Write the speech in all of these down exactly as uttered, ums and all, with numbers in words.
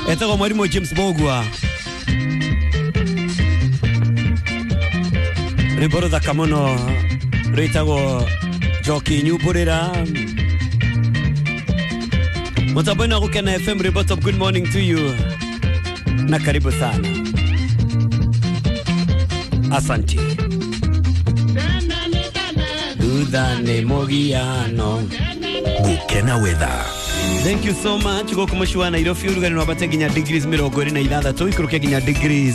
Etagwo mwarimu James Bogwa. Rwĩmbo rũthaka mũno rwĩtagwo Njoki Nyumbũrĩra. Mũtambo-inĩ wa Gũkena F M, rwĩmbo top. Good morning to you na karibu sana. Asante. Thutha nĩ mũgiano. Gũkena weather. Thank you so much. Gũkũ mũciĩ wa Nairobi ũrugarĩ nĩ wambate nginya degrees mĩrongo ĩrĩ na ithathatũ, ikũrũke nginya degrees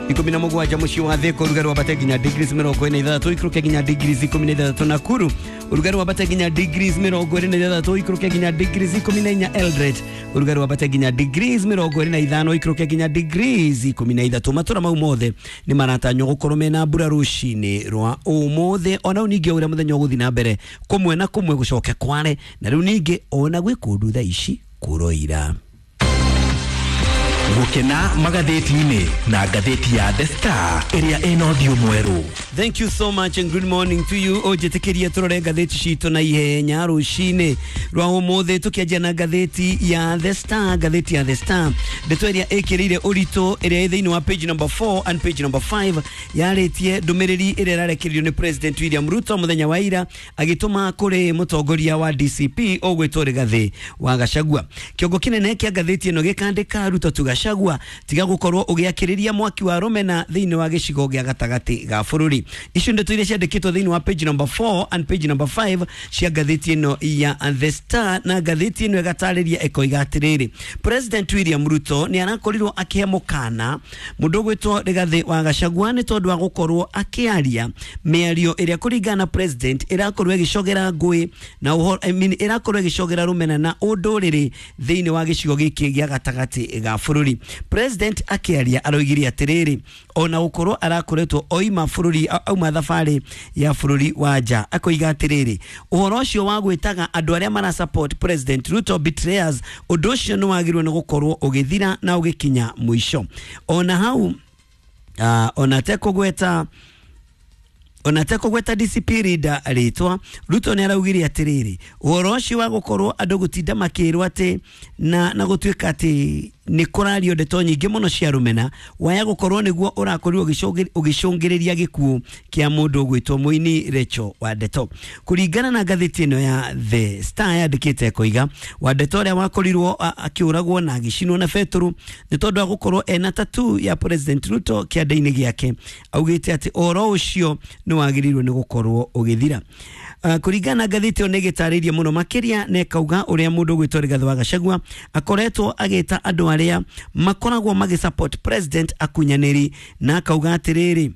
ikũmi na mũgwanja. Mũciĩ wa Thĩka ũrugarĩ wambate nginya degrees mĩrongo ĩna ithathatũ, ikũrũke nginya degrees ikũmi na ithathatũ. Nakuru ũrugarĩ wambate nginya degrees mĩrongo ĩrĩ na ithathatũ, ikũrũke nginya degrees ikũmi na inya. Eldoret ũrugarĩ wambate nginya degrees mĩrongo ĩrĩ na ithano, ikũrũke nginya degrees ikũmi na ithatũ. Matũra mau mothe nĩ maratanywo gũkorwo mena mbura rũcinĩ rwa ũmũthĩ. Ona rĩu ningĩ o ũrĩa mũthenya ũgũthiĩ na mbere, kũmwe na kũmwe gũcoke kware, na rĩu ningĩ ona gwĩ kũndũ thaa ici kũroira. Gũkena magathĩti-inĩ na ngathĩti ya The Star ĩrĩa ĩna ũthiũ mwerũ. Thank you so much and good morning to you. Ũnjĩtĩkĩrie tũrore ngathĩti citũ na ihenya rũcinĩ rwa ũmũthĩ, tũkĩanjia na ngathĩti ya The Star. Ngathĩti ya The Star, ndeto ĩrĩa ĩkĩrĩire ũritũ ĩrĩa ĩ thĩinĩ wa page number four and page number five, yarĩtie ndũmĩrĩri ĩrĩa ĩrarekereirio nĩ President William Ruto mũthenya wa ira agĩtũma kũrĩ mũtongoria wa D C P ũgwĩtwo Rigathĩ wa Gachagua. Kĩongo kĩnene kĩa ngathĩti ĩno gĩkandĩka Ruto to Gachagua, tiga gũkorwo ũgĩakĩrĩria mwaki wa rũmena thĩinĩ wa gĩcigo gĩa gatagatĩ ga bũrũri. Icio ndeto iria ciandĩkĩtwo thĩinĩ wa page number four and page number five cia ngathĩti ĩno ya The Star, na ngathĩti ĩno ĩgatarĩria ĩkoiga atĩrĩrĩ, President William Ruto nĩ arakorirwo akĩhe mũkana mũndũ ũgwĩtwo Rigathĩ wa Gachagua nĩ tondũ wa gũkorwo akĩaria mĩario ĩrĩa kũringana na President ĩrakorwo ĩgĩcogera ngũĩ na ũhoro, I mean, ĩrakorwo ĩgĩcogera rũmena na ũndũrĩrĩ thĩinĩ wa gĩcigo gĩkĩ gĩa gatagatĩ ga bũrũri. President akĩaria aroigire atĩrĩrĩ, ona gũkorwo arakoretwo oima bũrũri, auma thabarĩ ya bũrũri wa nja, akoiga atĩrĩrĩ, ũhoro ũcio wa gwĩtaga andũ arĩa mara support President Ruto betrayers, ũndũ ũcio nĩ wagĩrĩirwo nĩ gũkorwo ũgĩthira na ũgĩkinya mũico. Ona hau, uh, ona tekũgweta ona tekũgweta D C P leader rĩtwa, Ruto nĩ araugire atĩrĩrĩ, ũhoro ũcio wa gũkorwo andũ gũtinda makĩrwo atĩ na, na gũtuĩka atĩ nĩ kũrario ndeto nyingĩ mũno cia rũmena, waya gũkorwo nĩguo ũrakorirwo ũgĩcũngĩrĩria gĩkuũ kĩa mũndũ ũgwĩtwo mũini Rachel Wandeto. Kũringana na ngathĩti ĩno ya The Star yandĩkĩte ĩkoiga, Wandeto ũrĩa wakorirwo akĩũragwo na agĩcinwo na betũrũ nĩ tondũ wa gũkorwo ena tattoo ya President Ruto kĩanda-inĩ gĩake, augĩte atĩ ũhoro ũcio nĩ wagĩrĩirwo nĩ gũkorwo ũgĩthira. Uh, kũringana na ngathĩti ĩyo nĩ ĩgĩtarĩirie mũno makĩria na ĩkauga ũrĩa mũndũ ũgwĩtwo Rigathĩ wa Gachagua akoretwo agĩta andũ arĩa makoragwo magĩ support President akunyanĩri, na akauga atĩrĩrĩ,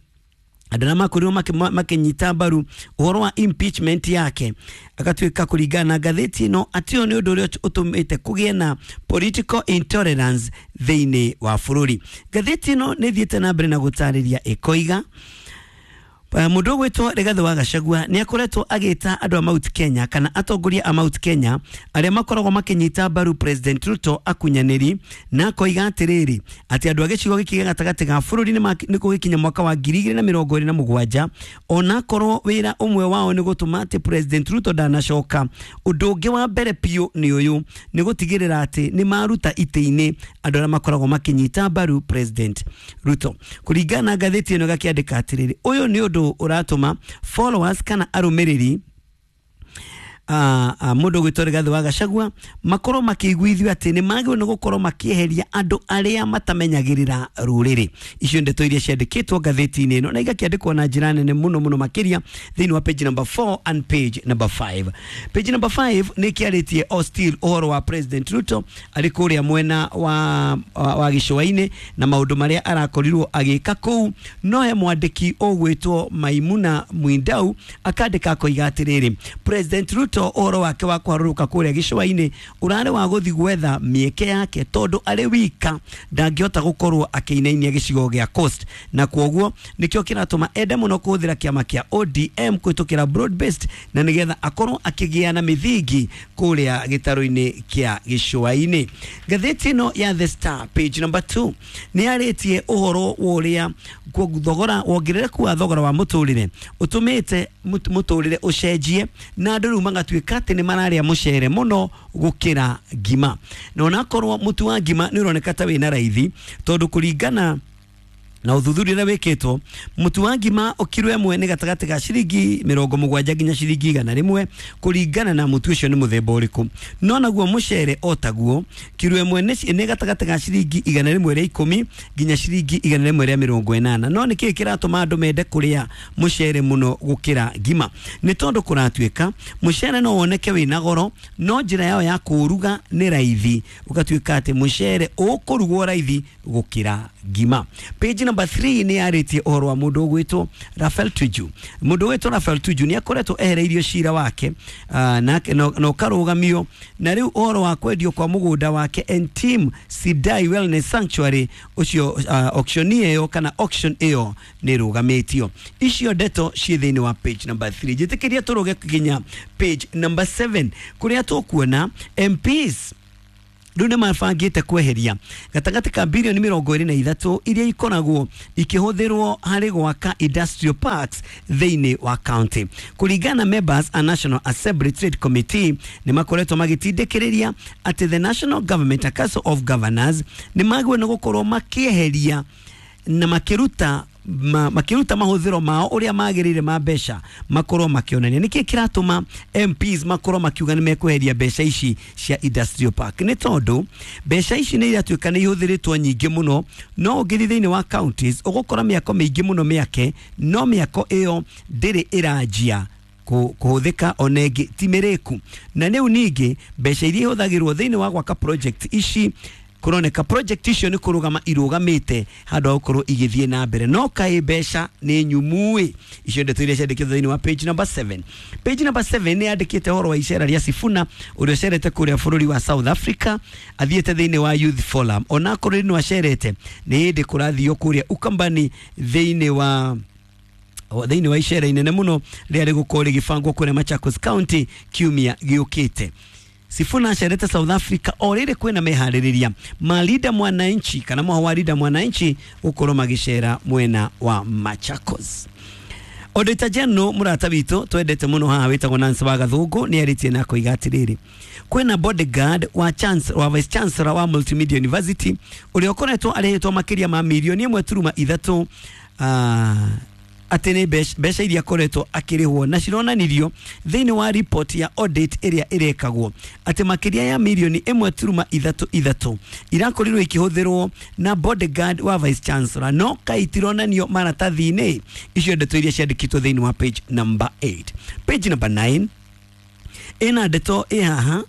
andũ arĩa makorirwo makĩnyita mbaru ũhoro wa impeachment yake, agatuĩka kũringana na ngathĩti ĩno atĩ ũyũ nĩ ũndũ ũrĩa ũtũmĩte kũgĩe na political intolerance thĩinĩ wa bũrũri. Ngathĩti ĩno nĩ ĩthiĩte na mbere na gũtarĩria ĩkoiga, mũndũ ũgwĩtwo Rigathĩ wa Gachagua nĩ akoretwo agĩta andũ a Mount Kenya kana atongoria a Mount Kenya arĩa makoragwo makĩnyita mbaru President Ruto akunyanĩri, na akoiga atĩrĩrĩ, atĩ andũ a gĩcigo gĩkĩ gĩa gatagatĩ ga bũrũri nĩ gũgĩkinya mwaka wa ngiri igĩrĩ na mĩrongo ĩrĩ na mũgwanja, ona korwo wĩra ũmwe wao nĩ gũtũma atĩ President Ruto ndanacoka, ũndũ ũngĩ wa mbere biũ nĩ ũyũ, nĩ gũtigĩrĩra atĩ nĩ maruta itĩ-inĩ andũ arĩa makoragwo makĩnyita mbaru President Ruto. Kũringana na ngathĩti ĩno ĩgakĩandĩka atĩrĩrĩ, ũyũ nĩ ũndũ ũratũma followers kana arũmĩrĩri mũndũ ũgwĩtwo Rigathĩ wa Gachagua makorwo makĩiguithio atĩ nĩ magĩrĩirwo nĩ gũkorwo makĩeheria andũ arĩa matamenyagĩrĩra rũrĩrĩ. Icio ndeto iria ciandĩkĩtwo ngathĩti-inĩ ĩno na igakĩandĩkwo na njĩra nene mũno mũno makĩria thĩinĩ wa page number four and page number five. Page number five nĩ kĩarĩtie o still ũhoro wa President Ruto arĩ kũrĩa mwena wa, wa, wa gĩcũa-inĩ na maũndũ marĩa arakorirwo agĩka kũu. No he mwandĩki ũgwĩtwo Maimuna Mwindau akandĩka akoiga atĩrĩrĩ, President Ruto ũhoro wake wa kũharũrũka kũrĩa gĩcũa-inĩ ũrarĩ wa gũthiĩ gwetha mĩeke yake tondũ arĩ wika ndangĩhota gũkorwo akĩinainia gĩcigo gĩa Coast, na kwoguo nĩkĩo kĩratũma ende mũno kũhũthĩra kĩama kĩa O D M kũhĩtũkĩra broad based na nĩgetha akorwo akĩgĩa na mĩthingi kũrĩa gĩtarũ-inĩ kĩa gĩcũa-inĩ. Ngathĩti ĩno ya The Star page number two nĩ yarĩtie ũhoro wa ũrĩa thogora wongerereku wa thogora wa mũtũrĩre ũtũmĩte mũtũrĩre ũcenjie na andũ rĩu magatuĩka Gũgatuĩka atĩ nĩ mararĩa mũcere mũno gũkĩra ngima, na onakorwo mũtu wa ngima nĩ ũroneka ta wĩna raithi, tondũ kũringana na ũthuthuria ũrĩa wĩkĩtwo, mũtu wa ngima kiro ĩmwe nĩ gatagatĩ ga ciringi mĩrongo mũgwanja nginya ciringi igana rĩmwe, kũringana na mũtu ũcio nĩ mũthemba ũrĩkũ. No naguo mũcere o taguo, kiro ĩmwe nĩ gatagatĩ ga ciringi igana rĩmwe rĩa ikũmi nginya ciringi igana rĩmwe rĩa mĩrongo ĩnana. No nĩkĩĩ kĩratũma andũ mende kũrĩa mũcere mũno gũkĩra ngima? Nĩ tondũ kũratuĩka mũcere no woneke wĩna goro, no njĩra yao ya kũũruga nĩ raithi, ũgatuĩka atĩ mũcere ũkũrugwo raithi gũkĩra ngima. Page number three nĩ yarĩtie ũhoro wa mũndũ ũgwĩtwo Rafael Tuju. Mũndũ ũgwĩtwo Rafael Tuju nĩ akoretwo ehereirio cira wake uh, na, na ũkarũgamio, na rĩu ũhoro wa kwendio kwa mũgũnda wake Entim Sidai Wellness Sanctuary ũcio, uh, auction ĩyo kana auction ĩyo nĩ ĩrũgamĩtio. Icio ndeto ciĩ thĩinĩ wa page number three. Njĩtĩkĩria tũrũge nginya page number seven, kũrĩa tũkuona M Ps rĩu nĩ mabangĩte kweheria gatagatĩ ka bilioni mĩrongo ĩrĩ na ithatũ iria ikoragwo ikĩhũthĩrwo harĩ gwaka industrial parks thĩinĩ wa county. Kũringana na members a National Assembly Trade Committee, nĩ makoretwo magĩtindĩkĩrĩria atĩ the National Government Council of Governors nĩ magĩrĩirwo nĩ gũkorwo makĩeheria na makĩruta ma, makiruta mahuthiro mao uria magirire ma mbeca makorwo makionania. Niki kiratuma M Ps makorwo makiuga ni mekweheria mbeca ici cia industrial park? Ni tondu mbeca ici ni iratuika ni ihuthiritwo nyingi muno, no ũngĩthiĩ thĩinĩ wa counties ũgũkora mĩako mĩingĩ mũno mĩake, no mĩako ĩyo ndĩrĩ ĩranjia kũhũthĩka ona ĩngĩ ti mĩrĩku. Na rĩu ningĩ mbeca iria ihũthagĩrwo thĩinĩ wa gwaka project ici, kuroneka project icio nĩ kũrũgama irũgamĩte handũ ha gũkorwo igĩthiĩ na mbere, no kaĩ mbeca nĩ nyumuĩ. Icio ndeto iria ciandĩkĩtwo thĩinĩ wa page number seven. Page number seven nĩ yandĩkĩte ũhoro wa icera rĩa Sifuna ũrĩa ũcerete kũrĩa bũrũri wa South Africa, athiĩte thĩinĩ wa Youth Forum. Onakorwo nĩ acerete, nĩ hĩndĩ kũrathio kũrĩa Ukambani thĩinĩ wa thĩinĩ wa icera inene mũno rĩrĩa rĩgũkorwo rĩgĩbangwo kũrĩa Machakos County kiumia gĩũkĩte. Sifuna acerete South Africa o rĩrĩ kwĩna meharĩrĩria ma Linda Mwananchi kana mwaho wa Linda Mwananchi gũkorwo magĩcera mwena wa Machakos. Auditor General mũrata witũ twendete mũno haha wĩtagwo Nancy wa Gathũngũ nĩ arĩtie na koiga atĩrĩrĩ, kwĩna bodyguard wa chancellor, wa vice chancellor wa Multimedia University ũrĩa ũkoretwo arĩhĩtwo makĩria ma mirioni ĩmwe turuma ithatũ uh, atĩ nĩ mbeca iria akoretwo akĩrĩhwo, na cironanirio thĩinĩ wa report ya audit ĩrĩa ĩrekagwo atĩ makĩria ya mirioni ĩmwe turuma ithatũ ithatũ irakorirwo ikĩhũthĩrwo na bodyguard wa vice chancellor, no kaĩ itironanio maratathi-inĩ. Icio ndeto iria ciandĩkĩtwo thĩinĩ wa page number eight. Page number nine ĩna ndeto ĩ haha,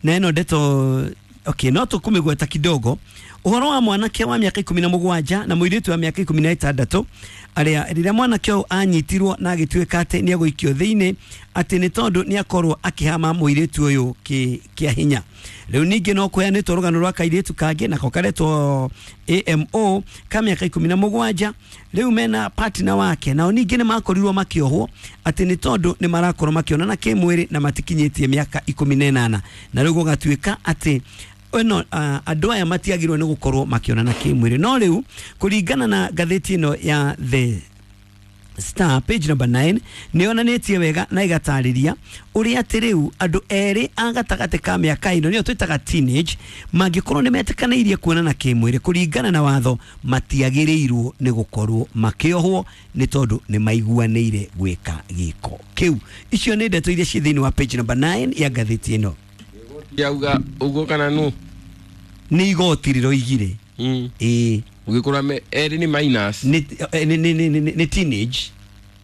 na ĩno ndeto okay, no tũkũmĩgweta kidogo. Ũhoro wa mwanake wa mĩaka ikũmi na mũgwanja na mũirĩtu wa mĩaka ikũmi na ĩtandatũ arĩa rĩrĩa mwanake ũyũ anyitirwo na agĩtuĩka atĩ nĩ egũikio thĩinĩ atĩ nĩ tondũ nĩ akorwo akĩhama mũirĩtu ũyũ kĩa hinya. Rĩu ningĩ no kũheanĩtwo rũgano rwa kairĩtu kangĩ nako karetwo A M O ka mĩaka ikũmi na mũgwanja, rĩu mena partner wake, nao ningĩ nĩ makorirwo makĩohwo atĩ nĩ tondũ nĩ marakorwo makĩonana kĩmwĩrĩ na matikinyĩtie mĩaka ikũmi na ĩnana, na rĩu gũgatuĩka atĩ ĩno uh, andũ aya matiagĩrĩirwo nĩ gũkorwo makĩonana kĩmwĩrĩ. No rĩu kũringana na ngathĩti ĩno ya The Star page number nine nĩ yonanĩtie wega na ĩgatarĩria ũrĩa atĩ rĩu andũ erĩ a gatagatĩ ka mĩaka ĩno nĩyo twĩtaga teenage mangĩkorwo nĩ metĩkanĩirie kuonana kĩmwĩrĩ kũringana na watho matiagĩrĩirwo nĩ gũkorwo makĩohwo nĩ tondũ nĩ maiguanĩire gwĩka gĩko kĩu. Icio nĩ ndeto iria ciĩ thĩinĩ wa page number nine ya ngathĩti ĩno. Yauga uguo kana nu nĩ igoti rĩroigire mm. Ĩĩ ũgĩkora me erĩ nĩ minus nĩ nĩ nĩ nĩ teenage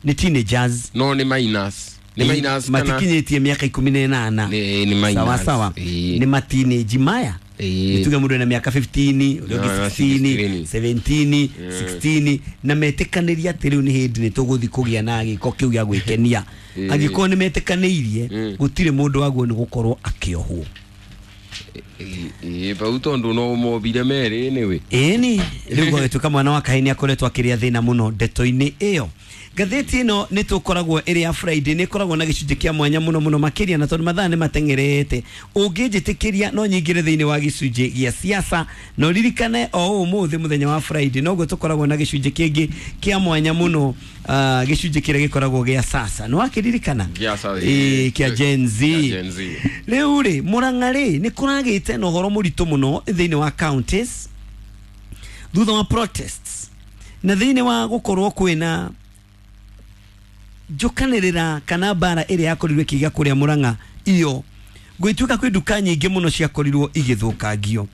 nĩ teenagers no nĩ minus nĩ minus kana matikinyĩtie mĩaka ikũmi na ĩnana nĩ nĩ minus sawa sawa nĩ ma teenage maya nituge mũndũ ena mĩaka fifteen ũrĩa ũngĩ sixteen seventeen sixteen na metĩkanĩria atĩ rĩu nĩ hĩndĩ nĩ tũgũthiĩ kũgĩa na gĩko kĩu gĩa gwĩkenia. Angĩkorwo nĩ metĩkanĩirie gũtirĩ mũndũ waguo nĩ gũkorwo akĩohwo. Ĩ bau tondu no mobire merĩ anyway. Ĩni rĩu gwagĩtuĩka mwana wa kahĩĩ nĩ akoretwo akĩrĩa thĩna mũno ndeto-inĩ ĩyo. Ngathĩti ĩno nĩ tũkoragwo ĩrĩ ya Friday, nĩ ĩkoragwo na gĩcunjĩ kĩa mwanya mũno mũno makĩria, na tondũ mathaa nĩ mateng'erete, ũngĩnjĩtĩkĩria no nyingĩre thĩinĩ wa gĩcunjĩ gĩa siasa, na ũririkane o ũmũthĩ mũthenya wa Friday noguo tũkoragwo na gĩcunjĩ kĩngĩ kĩa mwanya mũno, uh, gĩcunjĩ kĩrĩa gĩkoragwo gĩa sasa, nĩ wakĩririkana? Gĩa sasa, Ĩĩ, kĩa Gen Z. Kĩa Gen Z. Rĩu rĩ, Murang'a rĩ, nĩ kũragĩte na ũhoro mũritũ mũno thĩinĩ wa counties thutha wa protests na thĩinĩ wa gũkorwo kwĩna njũkanĩrĩra kana mbara ĩrĩa yakorirwo ĩkĩgĩa kũrĩa Murang'a iyo gwĩtuĩka kwĩ nduka nyingĩ mũno ciakorirwo igĩthũkangio.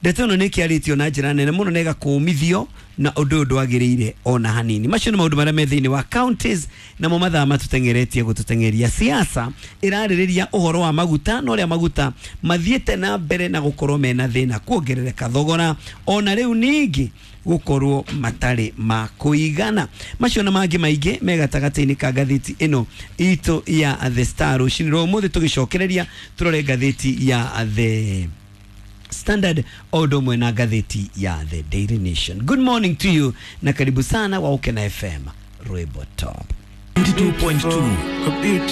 Ndeto ĩno nĩ ĩkĩarĩtio na njĩra nene mũno na ĩgakũmithio na ũndũ ũyũ ndwagĩrĩire ona hanini. Macio nĩ maũndũ marĩa me thĩinĩ wa counties, namo mathaa matũteng'eretie gũtũteng'eria. Siasa ĩrarĩrĩria ũhoro wa maguta na ũrĩa maguta mathiĩte na mbere na gũkorwo mena thĩna, kuongerereka thogora, ona rĩu ningĩ gũkorwo matarĩ ma kũigana. Macio na mangĩ maingĩ me gatagatĩ-inĩ ka ngathĩti ĩno itũ ya The Star rũcinĩ rwa ũmũthĩ. Tũgĩcokereria tũrore ngathĩti ya The Standard o ũndũ ũmwe na ngathĩti ya The Daily Nation. Good morning to you na karibu sana wa Ukena F M Rwimbo Top ninety-two point two.